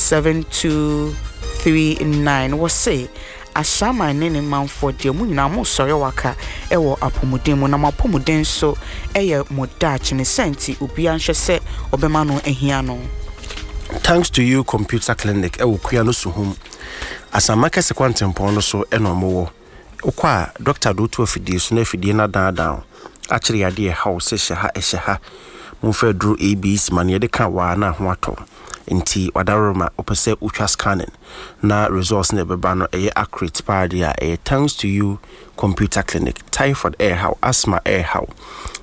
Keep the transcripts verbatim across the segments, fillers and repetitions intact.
seven two three nine. Wɔse Ahyɛaman ne ne manfoɔ deɛ, mo nyinaa mosɔre waka ɛwɔ apɔmuden mu, na mo apɔmuden nso ɛyɛ mo daakye ne sɛ nti obiara nhwɛ sɛ ɔbɛma no ahia no. Thanks to You Computer Clinic ɛwɔ Kua no Suhum, Asama Kɛse kwantempɔn no so ɛna ɔmowɔ. Wokɔ a, doctor de woto afidie so na afidie no adaadaa akyerɛ yadeɛ ɛha wo sɛ hyɛ ha, ɛhyɛ ha, momfa aduro A B C ma no yɛde ka waa na ho atɔ. Nti wadaroma wopɛ sɛ wotwa scanning na results na ɛbɛba no ɛyɛ accurate paa deɛ a, ɛyɛ Thanks to You Computer Clinic. Typhoid ɛɛhaw, asthma ɛɛhaw,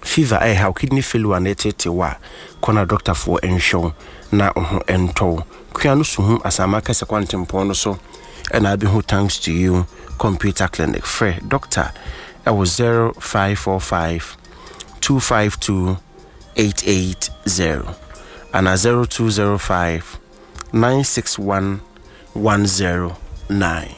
fever ɛɛhaw, kidney failure na ɛtete wɔ a, kɔ na doctorfoɔ nhwɛ wo na wo ho ɛntɔ wo. Kua no Suhum, Asama Kɛsɛ kwantempɔn no so ɛna abɛhu Thanks to You Computer Clinic. Frɛ doctor ɛwɔ zero five four five two five two eight eight zero ana zero two zero five nine six one one zero nine.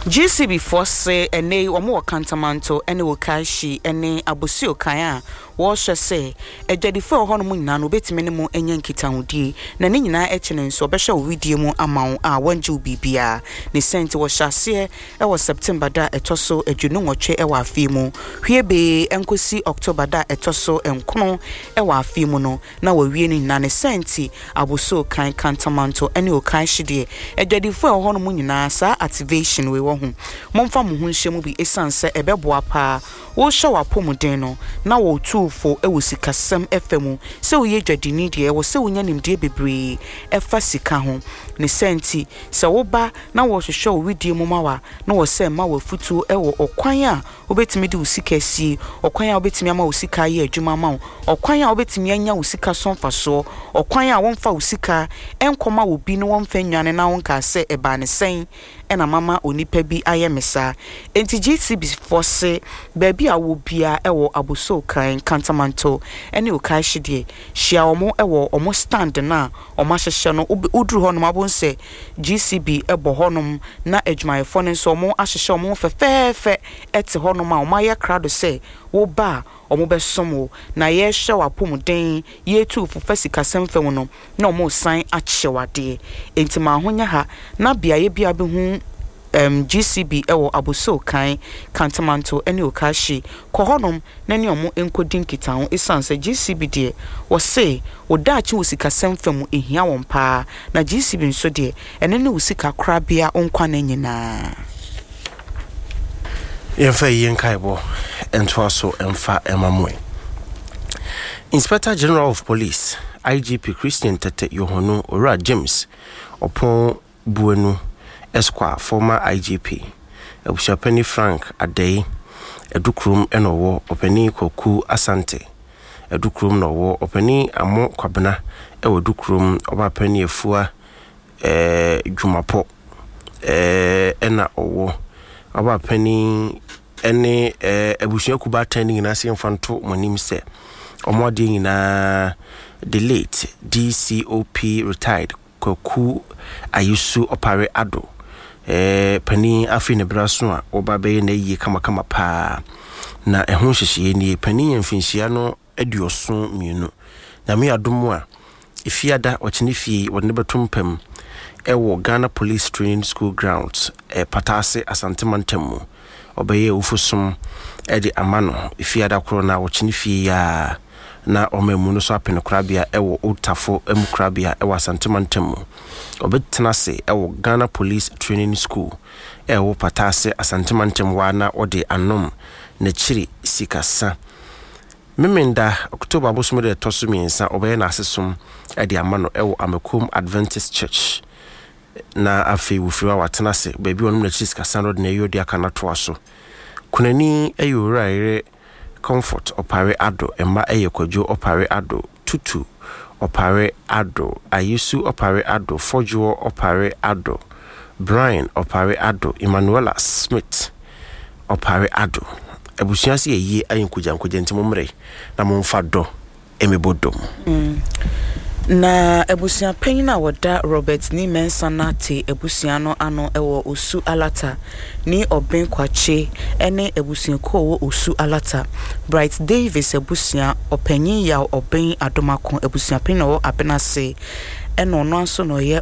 G C B foɔ se ɛnɛ yi wɔn wɔ Kantamanto ne Okaishie ne Abossey Okai a wɔrehwɛ sɛ adwadifoɔ a ɛwɔ hɔnom nyinaa no wobɛtumi ne mu anya nkitahodie, na ne nyinaa akyi no nso ɔbɛhwɛ wo widie mu ama wo a wɔngye wo biribiara ne sɛ nti wɔhyɛ aseɛ ɛwɔ September da a ɛtɔ so aduonu nwɔtwe ɛwɔ afei mu hwie bee nkɔsi October da a ɛtɔ so nkono ɛwɔ afei mu no na wɔawie no nyinaa. Ne sɛ nti Abossey Okai, Kantamanto ne Okaishie deɛ, adwadifoɔ a ɛwɔ hɔnom nyinaa, saa activation wei wɔ ho, momfa mo ho nhyɛ mu bi ɛsiane sɛ ɛbɛboa paa. Wohyɛ w'apɔmuden no na wɔtuufo wɔ sikasɛm ɛfa mu sɛ woyɛ dwadini deɛ, ɛwɔ sɛ wonya nimdeɛ bebree ɛfa sika ho. Ne sɛ nti sɛ woba na wɔhwehwɛ wo widie mu ma wa na wɔ sɛ ma w'afutuo ɛwɔ ɔkwan a wobɛtumi de wo sika asie, ɔkwan a wobɛtumi ama wo sika ayɛ adwuma ama wo, ɔkwan a wobɛtumi anya wo sika so mfasoɔ, ɔkwan a wɔmfa wo sika ɛnkɔma wo bi na wɔmfa nnwane na wonkaa sɛ ɛbaa ne sɛn ɛna mama onipa bi ayɛ me saa. Enti G C B foɔ se baabi a wɔ biara ɛwɔ Abossey Okai, Kantamanto ɛne Okaishie deɛ, hyia wɔn ɛwɔ wɔn stand no a wɔn ahyehyɛ no. Woduru hɔnom abɔ sɛ G C B ɛbɔ hɔnom na adwumayɛfoɔ no nso wɔn ahyehyɛ wɔn fɛfɛɛfɛ ɛte hɔnom a wɔn ayɛ krado sɛ woba a wɔn bɛsom wo na yɛrehwɛ wɔ apɔmuden, yɛretu fufa sikasɛm fam no na wɔn resan akyɛ wadeɛ. Enti maa ho nyɛ ha na beaeɛ bi a bɛhu um, G C B ɛwɔ Abossey Okai, Kantamanto ne Okaishie, kɔ hɔnom na ne ɔmo nkɔdi nkitaho ɛsiane sɛ G C B deɛ, wɔse wo daakye wɔ sikasɛm fam ehia wɔn paa, na G C B nso deɛ, ɛno ne wo sika korabea nkwa no nyinaa. Yɛmfa yie nkaebɔ ntoa so mfa ɛma mo. Inspector General of Police, I G P Christian Tetteh Yohuno, Owura James Oppong Boanuh Esquire, former I G P, abusuapani Frank Adei Adukurom ɛna ɔwɔ, ɔpanin Kwaku Asante Adukurom na ɔwɔ, ɔpanin Amo Kwabena ɛwɔ Adukurom, ɔbaapani Afua ɛɛ Dwumapɔ ɛɛ ɛna ɔwɔ, ɔbaapani ɛne ɛɛ abusuakuo baatan no nyinaa sɛ yɛmfa nto mo anim sɛ ɔmo adeɛ nyinaa, the late D C O P retired Kwaku Ayesu Ɔpare Ado ɛɛ panin afei ne bra so a wɔba bɛyɛ n'ayie kamakama paa, na ɛho nhyehyɛeɛ nie. Panin yɛ mfinhyia no aduɔson mmienu. Nyame adom a, Efiada ɔkyene fie wɔde ne bɛto mpam ɛwɔ Ghana Police Training School grounds, ɛ Pataase, Asante mantam mu. Ɔbɛyɛ awufosom ɛde ama no Efiada korɔ na ɔkyene fie yaa na ɔma mu no so apene korabea ɛwɔ Old Tafo mu korabea ɛwɔ Asante mantam mu. Ɔbɛtena ase ɛwɔ Ghana Police Training School ɛwɔ Pataase, Asante mantam waa na ɔde anom n'akyiri sikasa. Memenda October abosom de ɛtɔ so mmiɛnsa ɔbɛyɛ n'asesom ɛde ama no ɛwɔ Amakom Adventist Church, na afei wofiri hɔ a watena ase baabi a ɔnom n'akyiri sikasa no ɔde n'ayi ɔde aka no atoa so. Kunani ɛyɛ Owura Yere Comfort Ɔpare Ado. Mma ɛyɛ Kwadwo Ɔpare Ado, Tutu Ɔpare Ado, Ayesu Ɔpare Ado, Fɔdwoɔ Ɔpare Ado, Brian Ɔpare Ado, Emmanuela Smith Ɔpare Ado. Abusua sɛ yɛyie ayɛ nkogyankogya, nti mommrɛ na momfa dɔ ɛmɛbɔ dɔm. Na abusua panyin a wɔda Robert Nii Mensah Nartey abusua no ano wɔ Osu Alata ne Ɔben Kwakye ne abusuakuo a wɔwɔ Osu Alata, Bright Davis abusua, ɔpanyin Yaw Ɔben Adomako, abusua panyin a ɔwɔ Abenase, ɛna ɔno nso na ɔyɛ.